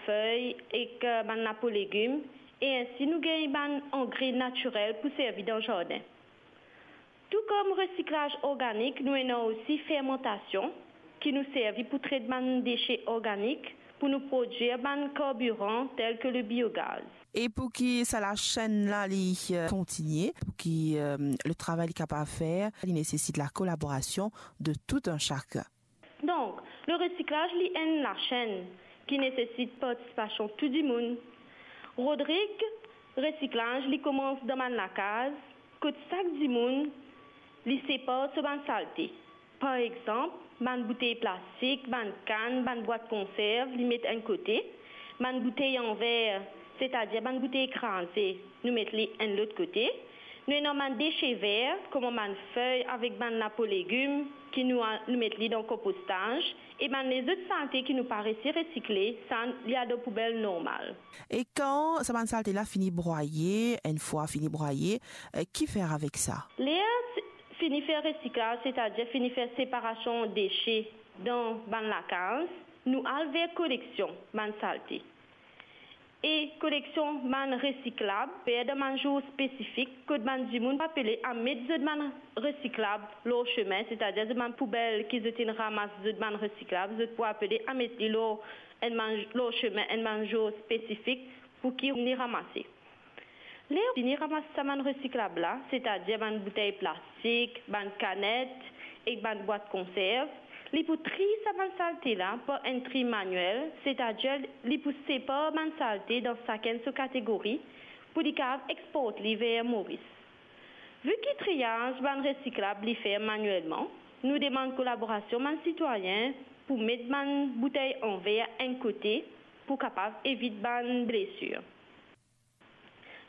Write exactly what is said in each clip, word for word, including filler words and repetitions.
fey ek, eh, bann lapo legim, e ensi nou gagn bann angre natirel pou servi dan zardin. Tou kom resiklaz organik, nou ena osi fermantasion ki nou servi pou tret bann dese organik pou nou prodwir bann karbiran tel ke le biogaz. E pou ki sa lasenn la li, eh, kontinie, pou ki, eh, le travay li kapav fer, li nesesit la kolaborasion de tout un chacun. Donk, le resiklaz li enn lasenn ki nesesit partisipasion tou dimoun. Rodrig resiklaz li koumans dan bann lakaz, kot sak dimoun li separ so bann salte. Par exanp, bann boutey plastik, bann kann, bann bwat konserv, li met enn kote, bann boutey an ver, setadir bann boutey kraze, nou met li enn lot kote. Nou ena bann dese ver, kouma bann fey avek bann lapo legim ki nou a-, nou met li dan konpostaz, e bann lezot salte ki nou pa resi resikle, sa li al dan poubel normal. E kan sa bann salte la fini brwaye, enn fwa fini brwaye, eh, ki fer avek sa? Ler s-, fini fer resiklaz, setadir fini fer separasion dese dan bann lakaz, nou al ver koleksion bann salte. E koleksion bann resiklab, fer dan bann zour spesifik, kot bann dimoun pou apele a met zot bann resiklab lor sime, setadir zot bann poubel ki zot inn ramas zot bann resiklab, zot pou apele a met li lor enn bann, lor sime enn bann zour spesifik pou ki li ramase. Ler fini ramas sa bann resiklab la, setadir bann boutey plastik, bann kanet ek bann bwat konserv, li pou triy sa bann salte la par enn tri maniel, setadir li pou separ bann salte dan sakenn so kategori pou li kapav export li ver Moris. Vi ki triyaz bann resiklab li fer manielman, nou demann kolaborasion bann sitwayin pou met bann boutey an ver enn kote pou kapav evit bann blesir.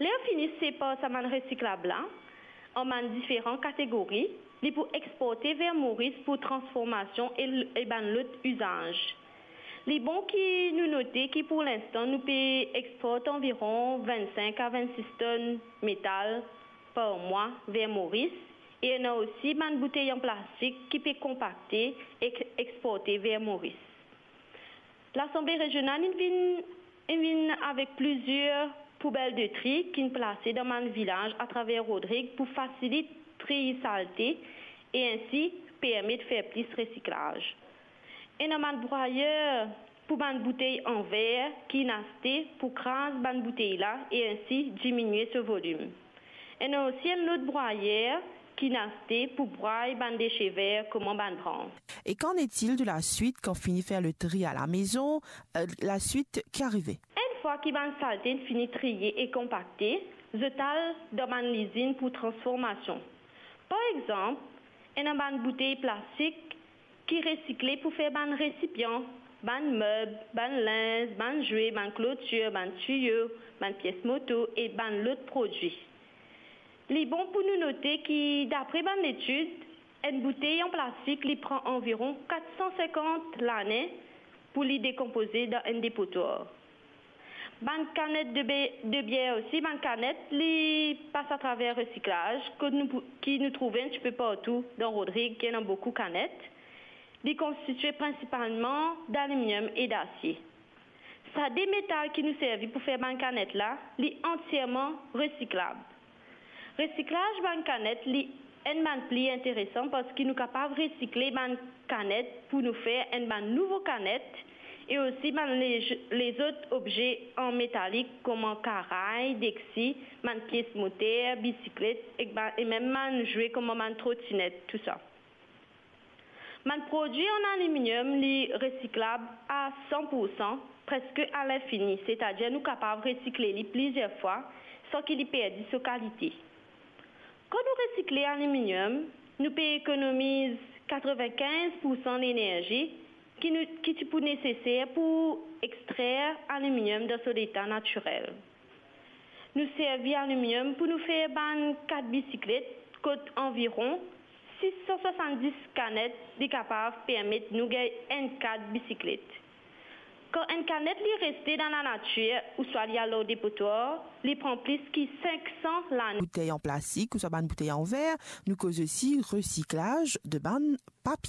Ler fini separ sa bann resiklab la an bann diferan kategori, li pou exporte ver Moris pou transformasion e, e bann lot izaz. Li bon ki nou note ki pou linstan nou pe export anviron vennsenk a vennsis tonn metal par mwa ver Moris, e ena osi bann boutey an plastik ki pe konpakte ek exporte ver Moris. Lasanble rezional inn vinn, inn vinn avek plizier poubel de tri ki'nn plase dan bann vilaz atraver Rodrig pou fasilit triy salte e ensi permet fer plis resiklaz. Ena bann brwayer pou bann boutey an ver ki'nn aste pou kraz bann boutey la e ensi diminie so volim. Ena osi enn lot brwayer ki'nn aste pou bray bann dese ver kouma bann brans. Et qu'en est-il de la suite quand fini fer le tri à la maison, euh, la suite ki arive? Enn fwa ki bann salte fini triye e konpakte, zot al dan bann lizinn pou transformasion. Par exanp, ena bann boutey plastik ki resikle pou fer bann resipian, bann meb, bann linz, bann zwe, bann klotir, bann tiyo, bann pies moto e bann lot prodwi. Li bon pou nou note ki, dapre bann letid, enn boutey an plastik, li pran anviron kat san sinkant lane pou li dekonpoze dan enn depotwar. Bann kanet de be-, de bier osi, bann kanet, li pas atraver resiklaz, kot nou pou, ki nou trouve enn tipe partou dan Rodrig, ki ena boukou kanet. Li konstitie prinsipalman daliminiom e dasie. Sa de metal ki nou servi pou fer bann kanet la, li antierman resiklab. Resiklaz bann kanet, li enn bann pli interesan, parski nou kapav resikle bann kanet pou nou fer enn bann nouvo kanet, e osi bann le-, lezot obze an metalik, kouma karay, deksi, bann pies moter, bisiklet, ek bann, e mem bann zwe kouma bann trotinet, tousa. Bann prodwi an aliminiom, li resiklab a san pou san, preske a linfini, setadir nou kapav resikle li plizier fwa san ki li perdi so kalite. Kan nou resikle aliminiom, nou pe ekonomiz katrevinkinz pou san lenerzi ki nou, ki ti pou neseser pou extrer aliminiom dan so leta natirel. Nou servi aliminiom pou nou fer bann kad bisiklet, kot anviron sis san swasanndis kanet li kapav permet nou gagn enn kad bisiklet. Kan enn kanet li reste dan lanatir ouswa li al lor depotwar, li pran plis ki sink san lane. Boutey an plastik ouswa bann boutey an ver, nou koz osi resiklaz de bann papie.